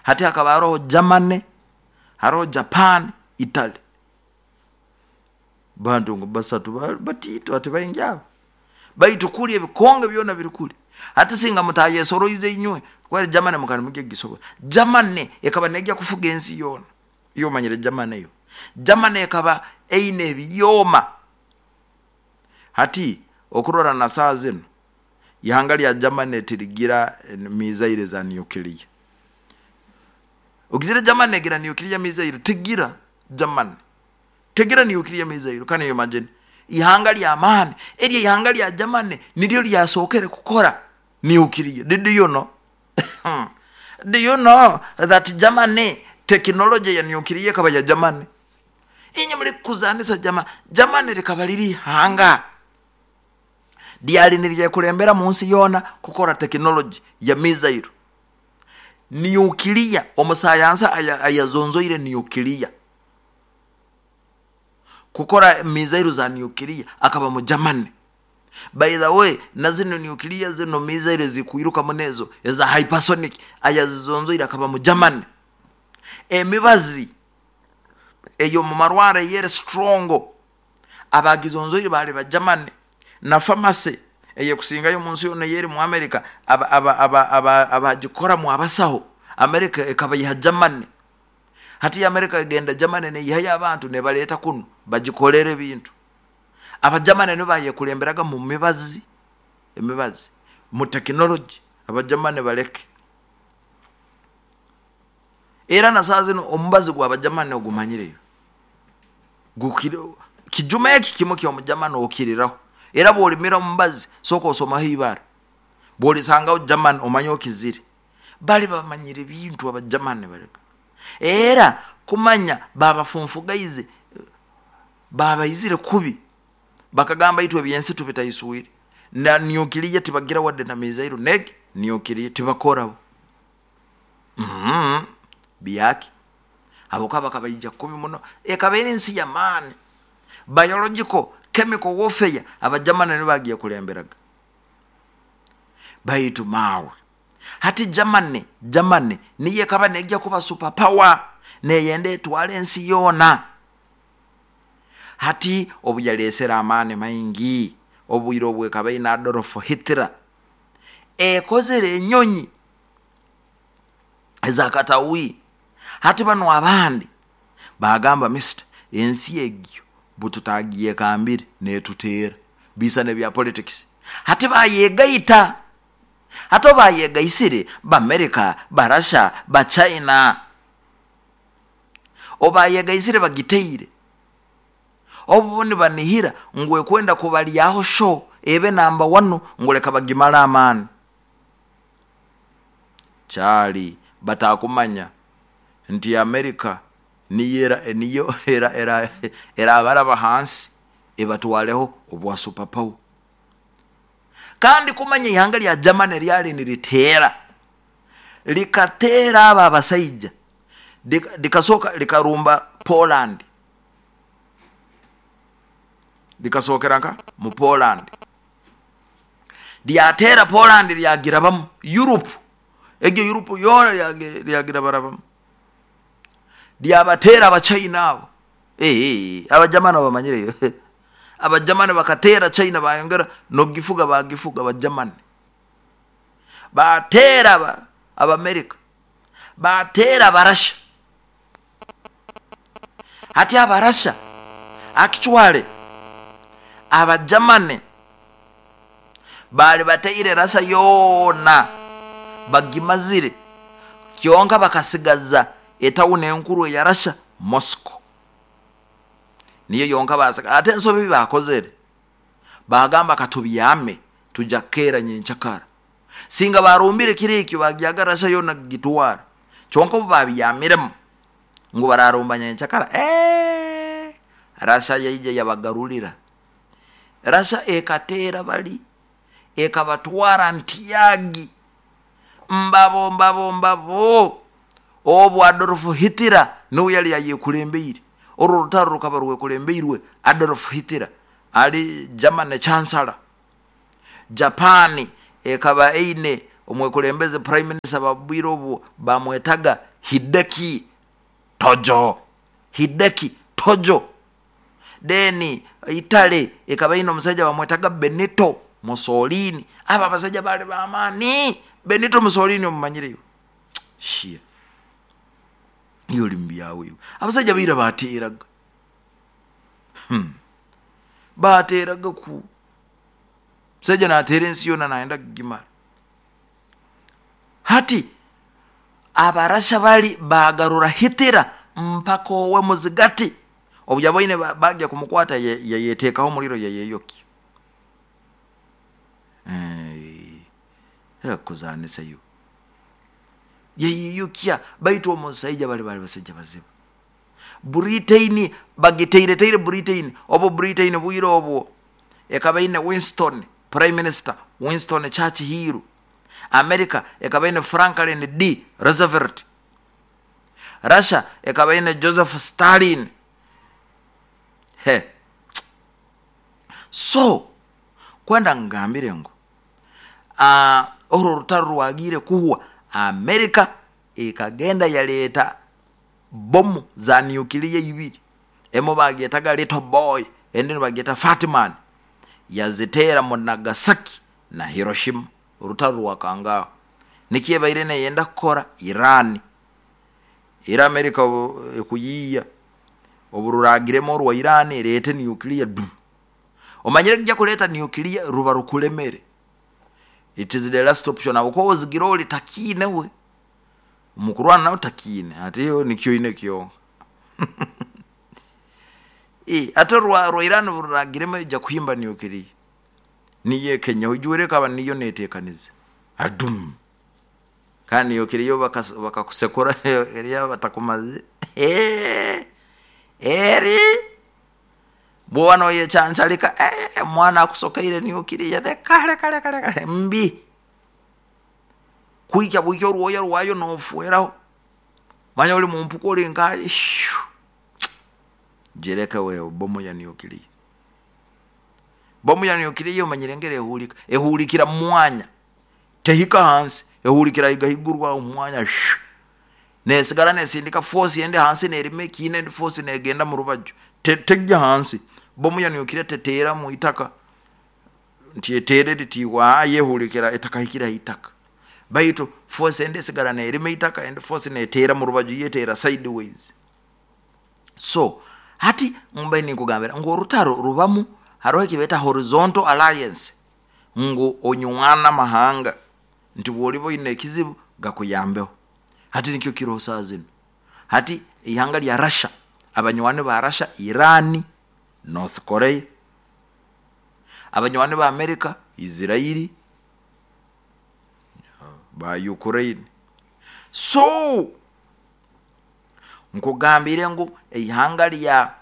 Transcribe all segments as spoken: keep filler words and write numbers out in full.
Hati hakaba haroho Germany, haroho Japan, Italy, bantu ngu basatu batiito ati baingi abo, baitu kuli ebikonge byona biri kuli. Hati singa mutayesoroize inywe kweri Germany mukali mujya gisobora. Germany ekaba nejja kufuga ensi yoona. Iyo omanyire Germany yo, Germany ekaba eine ebyoma. Hati okurora na saaha zinu ihanga lya Germany tirigira missile za nuclear. Ogizire Germany egira nuclear missile? Tegira. Germany tegira nuclear missile. Can you imagine ihanga lyamaani eryo? Ihanga lya Germany niryo lyasookere kukora nuclear. Did you know do you know that Germany technology ya nuclear ekaba ya Germany? Inye muli kuzanisa Germany. Germany rikaba liri ihanga lyali niryekulembera mu nsi yoona kukora technology ya missile nuclear. Omusayansa ayazonzoire nuclear, kukora missile za nuclear, akaba mu Germany. By the way, na zino nuclear, zino missile zikwiruka munezo eza hypersonic, ayazizonzoire akaba mu Germany. Emibazi eyo mu marwaro eyere strong, abagizonzoire bali ba Germany. Na pharmacy eyekusingayo mu nsi yona eyeri mu America, abagikoramu abasaho, America ekaba ya Germany. Hati America egenda Germany neyihayo abantu nebaleeta kuno bagikolera ebintu. Abajamani nibo bayekulemberaga mu mibazi, emibazi mu tekinologi. Abajamani baleke, era na saa zino omubazi gwabajamani ogumanyireyo, kijuma eki kimu kyomujamani okiriraho. Era bwolimira omubazi, sooka osomaho ibara, bwolisangaho Germany omanye okizire. Bali bamanyire ebintu abajamani baleka. Era kumanya babafunfugaize, babaizire kubi, bakagamba itwe ebyensi tubitaiswire na nuclear tibagira wadde na missile neg nuclear tibakoraho. mm -hmm. Byaki habwokuba bakabaija kubi muno. Ekaba eri ensi yamaani. Biological, chemical warfare, abajamani nibo bagiye kulemberaga. Baitu maawe, hati Germany Germany niyo ekaba nejja kuba super power, neyenda etwala ensi yoona. Hati obu yalesere amaani maingi, obwire obwekaba ine Adolf Hitler, ekozere enyonyi ezakatawi. Hati banu abandi bagamba, "Mister, ensi egyo bututagiekambire netuteera bisana ebya politics." Hati bayegaita. Hati obayegaisire Bamerika, Barasha, Bachina, obayegaisire bagiteire, obu nibanihira ngu ekwenda kubalyaho sho ebe namba wanu, ngu leka bagimale amaani. Kyali batakumanya nti Amerika niyo niyo erabaraba hansi ebatwaleho obwa super power. Kandi kumanya ihanga lya Germany lyali niriteera, likateera abo abasaija, likasoka likarumba Poland, likasookera nka mu Poland, lyateera Poland, lyagirabamu Europe egyo, Europe yoona lyagirabarabamu, lyabateera Abachina abo. Abajamani bamanyireyo, Abajamani bakateera China, bayongera nogifuga, bagifuga. Abajamani bateera Abamerika, bateera Abarasha. Hati Abarasha, actually Abajamani bali bateire Rasa yoona bagimazire, kyonka bakasigaza etawuni enkuru eya Rasha, Moscow, niyo yonka basiga. Ate ensobi bakozere, bagamba katubyame tujja kukeera nyenkyakara. Singa barumbire kiro ekyo, bagyaga Rasha yoona gitwara. Kyonka obu babyamiremu ngu bararumba nyenkyakara, eee Rasha yaija yabagarulira. Rasha ekateera bali, ekabatwara ntyagi mbabo mbabo mbabo. Obu Adolf Hitler niwe yali ayekulembeire oru orutaro, rukaba rwekulembeirwe Adolf Hitler ali Germany chancellor. Japani ekaba eine Omwekulembeze prime minister babwire obu bamwetaga Hideki Tojo. Hideki Tojo. Then Italy ekaba ine omusajja bamwetaga Benito Mussolini. Aba abasajja bali bamaani. Benito Mussolini omumanyireyo? Shia iyo oli mubyawe iwe. Abasajja baira bateeraga, hmm. bateeraga ku musajja nateera ensi yona nayenda kugimara. Hati Abarasha bali bagarura Hitler mpaka owe muzigati. Obu yaboine bagya kumukwata yayetekaho omuliro yayeyokya. Eh, kuzanisayo yayeyokya. Baitu omusaija bali bali basajja bazibu. Britain bagiteireteire Britain. Obu Britain bwire obwo ekaba ine Winston prime minister Winston Churchill. America ekaba ine Franklin D Roosevelt. Russia ekaba ine Joseph Stalin. He. So kwenda ngambire ngu uh, orwo rutaro rwagire kuhwa, America ekagenda yaleta bomu za nuclear ibiri. Emo bagyetaga Little Boy, endi nibagyeta Fat Man. Yaziteera mu Nagasaki na Hiroshima. Orutaro rwakangaho. Nikyo ebaire neyenda kukora Iran. Era America ekuyiiya obururagiremu orwa Iran ereete nuclear du. Omanyire kujja kuleeta nuclear ruba rukulemere. It is the last option. Aho ozigira oli takiine we. Mukurwana nawe takiine. Ate yo nikyo ine kyonka. E, ate rwa, rwa Iran ruragiremu ejja kuhimba nuclear. Niye Kenya ujure kaba niyo netekanize. Adum. Kandi nuclear bakakusekura eriya batakumaze. Eh. Eri bwoba noyechanchalika eh, mwana akusokeire nuclear ne kale kale kale kale mbi. Kuikya bwikya orwoya rwayo nofueraho. Manya oli mumpuko oli nkaye. Jereka wewe bomu ya nuclear. Bomu ya nuclear omanyire ngere ehulika. Ehulikira mwanya. Tehika hansi. Ehulikira igahigurwa omwanya. Nesigara nesindika force yende hansi nerime kine ndi force negenda mu rubaju. Tegya hansi. Bomu ya nuclear tetera mu itaka. Nti etere litiwa yehulikira etakahikira itaka. Baitu force ende sigara nerime itaka and force netera mu rubaju yetera sideways. So hati mbaye nikugambira ngo orutaro rubamu hariho ekibeta horizontal alliance, ngu onywana mahanga nti bwoliba oine ekizibu gakuyambeho. Hati nikyo kiroho saa zino. Hati ihanga lya Russia, abanywani ba Russia Iran, North Korea, abanywani ba America Israeli, ba Ukraine. So nkugambire ngu ihanga lya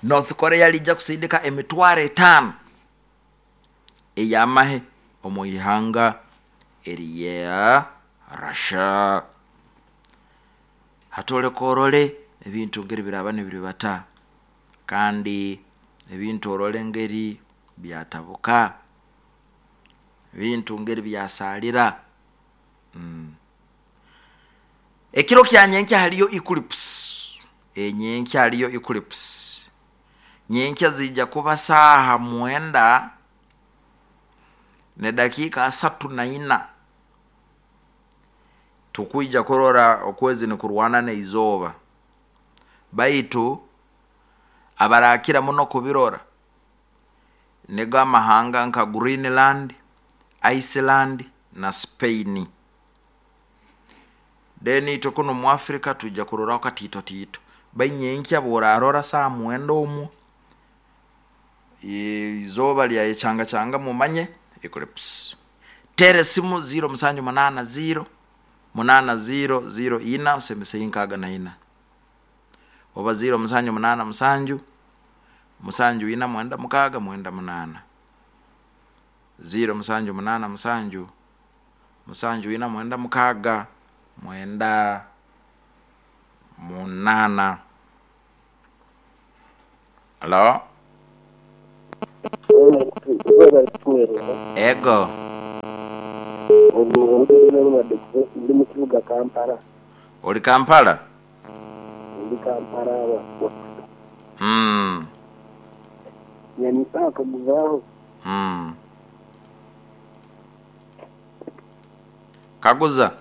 North Korea lijja kusindika emitwaro etaano ey'amahe omu ihanga erya Russia. Hatoleka orole ebintu ngeri biraba nibiribata, kandi ebintu orole ngeri byatabuka, ebintu ngeri byasalira. Mm. Ekiro kya nyenkya haliyo eclipse. Enyenkya haliyo eclipse. Nyenkya zijja kuba saaha mwenda ne dakika asatu na ina. Tukuija kurora okwezi ni kurwana ne izoba. Baitu abarakira muno kubirora nigo amahanga nka Greenland, Iceland na Spain. Then itwe kuno mu Africa tujja kuroraho katito tito. Bainyenkya borarora saa mwenda omwo izoba lya echanga changa mumanye eclipse. Tere simu zero musanju munana zero munana zero zero ina usemese inkaga na ina. Oba zero musanju munana musanju musanju ina mwenda mukaga mwenda munana. Zero musanju munana musanju musanju ina mwenda mukaga mwenda munana. Hello? Ego. Ndi mu kibuga Kampala. Oli Kampala? Ndi Kampala. Mm. Nyanisaka kaguzaho. Mm. Kaguza.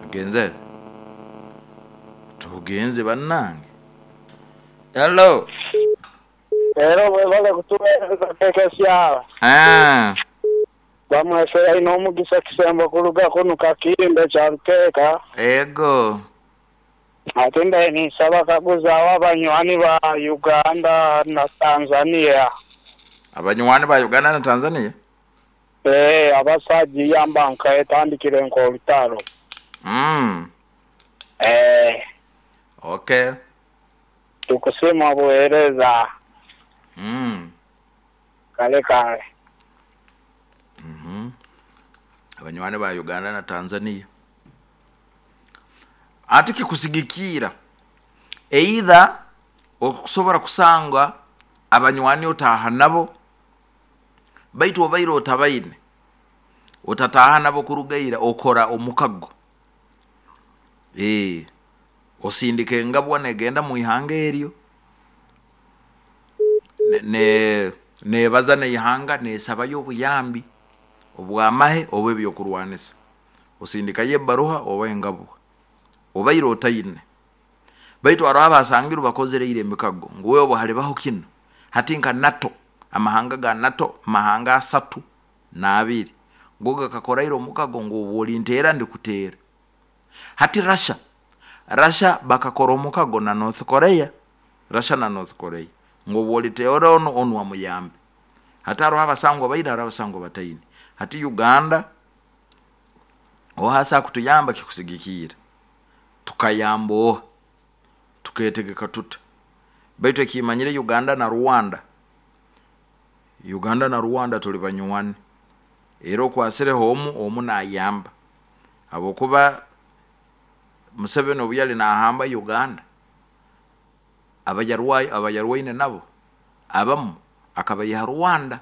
Agenze. Tugenze bannange. Hello. Era webale kutuweereza kekesya. Ah. Bamwese alina omugisa kisembo kuluga kuno kakimbe kya Ruteeka. Ego. Ate ndaye ninsaba kaguzaawo abanywani ba Uganda na Tanzania. Abanywani ba Uganda na Tanzania? Eh, abasajja nka etandikire nk'olutalo. Mm. Eh. Okay. Tukusima buweereza. Mm. Kale kale. Mhm. Abanywani ba Uganda na Tanzania. Ate kikusigikira either okusobola kusanga abanywani otaaha nabo baitu obaire otabaine otataaha nabo kurugaira okora omukago eh osindika engabwa negenda mu ihanga eryo ne, ne nebaza neihanga nesabayo obuyambi obwamahe oba ebyokurwanisa osindikayo ebbaruha oba engabwa obaire otaine baitu hariho abasangiru bakozereire emikago ngu wewe halibaho kino hati nka NATO amahanga ga NATO mahanga asatu n'abiri ngo gakakoraire omukago ngu obu olinteera ndikuteera hati Russia Russia bakakora omukago na North Korea Russia na North Korea ngu obu oliteera onu onu amuyambe hati hariho abasangwa baine hariho abasangwa bataine hati Uganda ohasa kutuyamba kikusigikiira tukayamba oha tuketegeka tuta baitu ekimanyire Uganda na Rwanda Uganda na Rwanda tuli banywani era okwasireho omu omu nayamba habwokuba Museveni obu yali nahamba Uganda abayarwayi abayarwaine nabo abamu akabayiha Rwanda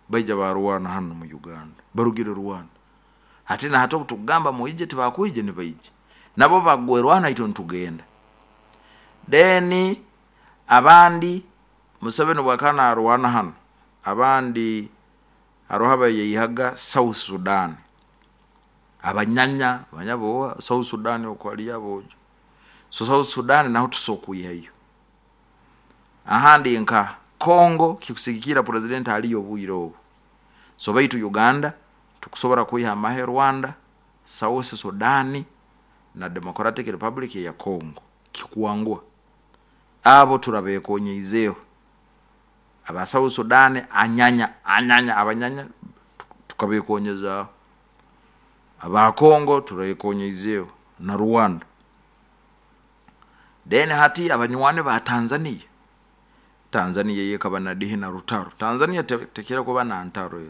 baija barwana hano mu Uganda barugire Rwanda hati na hati obutugamba muije tibakwije nibaije nabo bagwerwana itwe ntugenda then abandi Museveni bwakana arwana hano abandi hariho abayeyihaga South Sudan abanyanya abanyabo South Sudan okwali abojo so South Sudan naho tusokuyihayo ahandi nka Congo kikusigikira president aliyo obwire obu so baitu Uganda tukusobora kuyiha amahe Rwanda South Sudan na Democratic Republic ya Congo kikuangua abo turabekonyeizeho aba South Sudan anyanya anyanya abanyanya tukabekonyeza aba Congo turekonyeizeho na Rwanda then hati abanywane ba Tanzania Tanzania yekaba na dihi na rutaro Tanzania te, tekera kuba na ntaro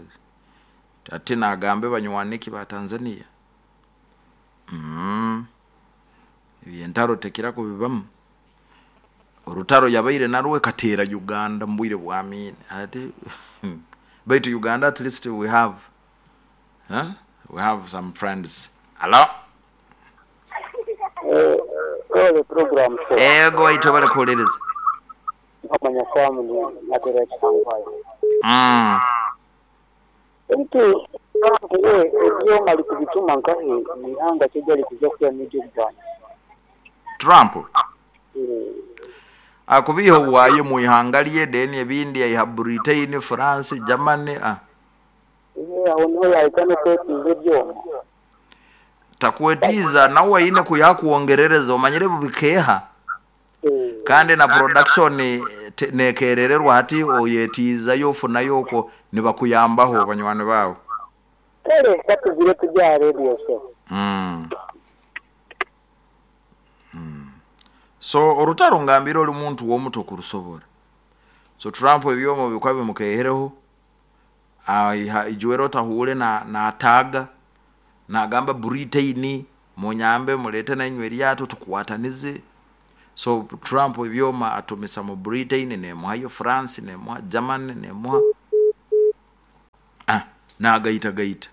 ati nagambe banywaniki ba Tanzania mm ebintaro tekera kubibamu orutaro yabaire narwe katera Uganda mbwire bwamine ati baitu Uganda at least we have huh? We have some friends. Hello. Eh, ole program so. Ego ito bale kulereza. Amanya kwamu natera changwayo. Mm. Enti eh ebyo mali kubituma nkahe mihanga kijali kuja kuya media Uganda. Trump. Eh, Akubiho waye mu ihanga lye deni ebindi ya Britain, France, Germany ah. eh aho niho yahitamo kwetiza ebyoma. Takwetiza nawe ine kuyakuongerereza omanyire bubikeha Eh, kandi na production te- nekerererwa hati oyetiizayo ofunayo okwo nibakuyambaho banywani bawe kale katugire tujya radio so. mm. Mm. So orutaro ngambire oli muntu w'omuto kurusobora so Trump ebyomo bikwa bimukehereho aiha ijuwero otahuule na nataga nagamba Britain munyambe mulete nainywe eryato tukwatanize So Trump ebyoma atumisa mu Britain, nemuhayo France, nemuha Germany, nemuha ah nagaita gaita.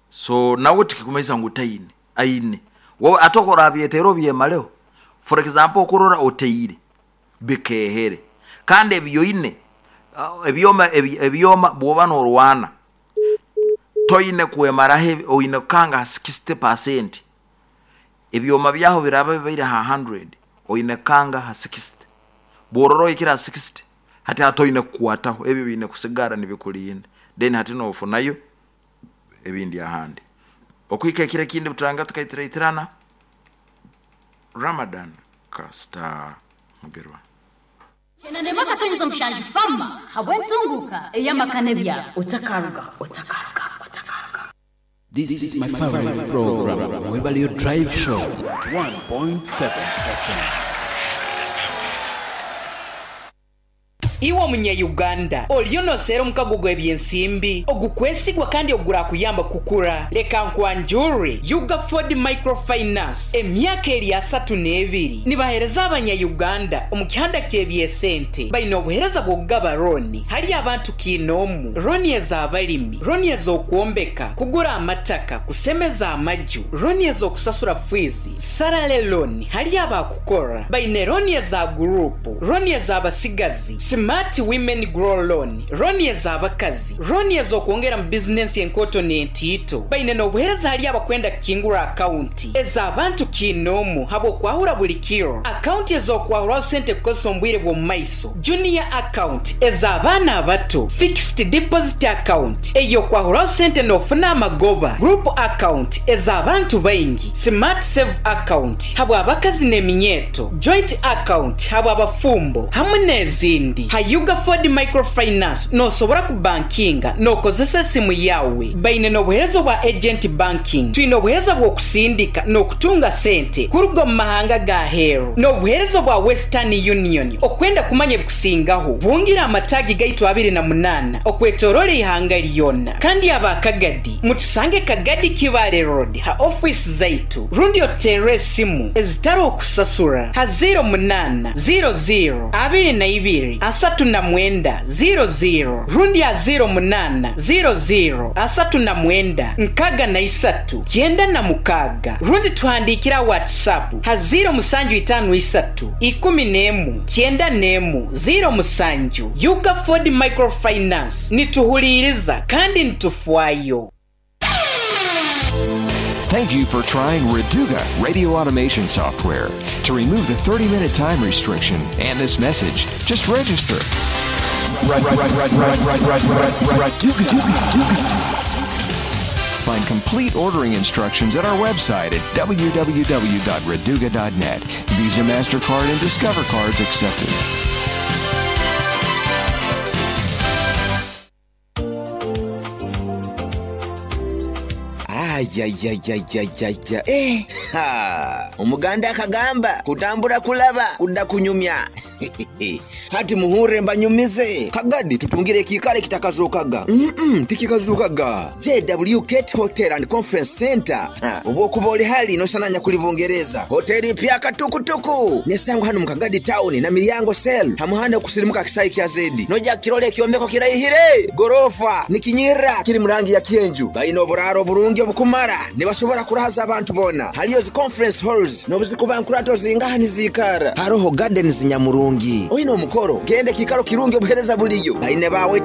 So nawe tikikumanyisa ngu taine aine wowe atokora abyetero byemaleho. For example, okurora oteire bikehere kandi ebyoine ebyoma ebyoma bwoba norwana toine kwemaraho, oine kanga sixty percent ebyoma byaho biraba bibaire ha hundred, oine kanga ha sixty, bwororo ikira sixty hati atoine kukwataho ebyo bine kusigara nibikulinda, then hati nofunayo ebindi ahandi okwika kire kindi buturanga tukaitira Ramadan Kasta Mugerwa. Chenande maka tonyiza mushanju fama habwentunguka eyamakane bya otakaruga otakaruga otakaruga. This is my favorite program, Mwebalio Drive Show, one point seven F M. Iwe omunya-Uganda oliyo noseera omukago gw'ebyensimbi ogukwesigwa kandi ogurakuyamba kukura. Leka nkwanjure Ugaford Microfinance emyaka eri asatu n'ebiri nibahereza abanya-Uganda omu kihanda ky'ebyesente. Baine obuhereza bw'okugaba roni hali abantu kiinoomu, roni ez'abalimi, roni ez'okwombeka, kugura amataka, kusemeza amaju, roni ez'okusasura fiizi, sarale loni hali abakukora. Baine roni eza gurupu, roni ez'abasigazi, Smart Women Grow Loan, roni ez'abakazi, roni ez'okwongera mu bizinensi enkoto n'entiito. Baine n'obuhereza hali abakwenda kukingura akaunti ez'abantu kiinoomu habw'okwahura buli kiro, akaunti ez'okwahuraho sente kukozesa omu bwire bw'omu maiso, junior account ez'abaana abato, fixed deposit account ey'okwahuraho sente n'ofuna amagoba, group account ez'abantu baingi, smart save account habw'abakazi n'eminyeeto, joint account habw'abafumbo hamwe n'ezindi. Ugaford Microfinance nosobora kubankinga nokozesa esimu yawe. Baine n'obuhereza bwa agent banking, twine obuhereza bw'okusindika n'okutunga sente kuruga mu mahanga ga heru, n'obuhereza bwa Western Union. Okwenda kumanya ebikusingaho bungira amatagi gaitu abiri na munana okwetorola ihanga lyona. Kandi abakagadi mutusange Kagadi Kibale Road ha office zaitu, rundi otere esimu ezitari okusasura ha zero munana zero zero abiri na ibiri asatu na mwenda zero zero rundi ya zero munana zero zero asatu na mwenda nkaga na isatu kyenda na mukaga, rundi tuhandikira WhatsApp ha zero musanju itanu isatu ikumi nemu kyenda nemu zero musanju. Ugaford Microfinance nituhuliriza kandi nitufwayo. Thank you for trying Reduga radio automation software. To remove the thirty-minute time restriction and this message, just register. Find complete ordering instructions at our website at w w w dot reduga dot net. Visa, MasterCard, and Discover cards accepted. Ayayayayayaya. Eh, ha. Omuganda akagamba kutambura kulaba kudda kunyumya. Hati muhure mbanyumize. Kagadi tutungire kikale kitakazukaga. Mm-mm, tikikazukaga. J W Kate Hotel and Conference Center. Obwokuba oli hali nosananya kuli Bungereza. Hoteli pya katukutuku. Nesango hano mu Kagadi town na Milyango cell. Hamuhanda kusirimuka kisayi kya zedi. Noja kirole kyombeko kirayihire. Gorofa nikinyira kiri murangi ya kienju. Bayino oburaro burungi obukumara. Nibasobora kurahaza abantu bona. Haliyo zi conference halls nobuzikuba nkurato zingaha nizikara. Haroho gardens nyamurungi. Oyino omukoro gende kikaro kirungi obuhereza buliyo. Baine bawe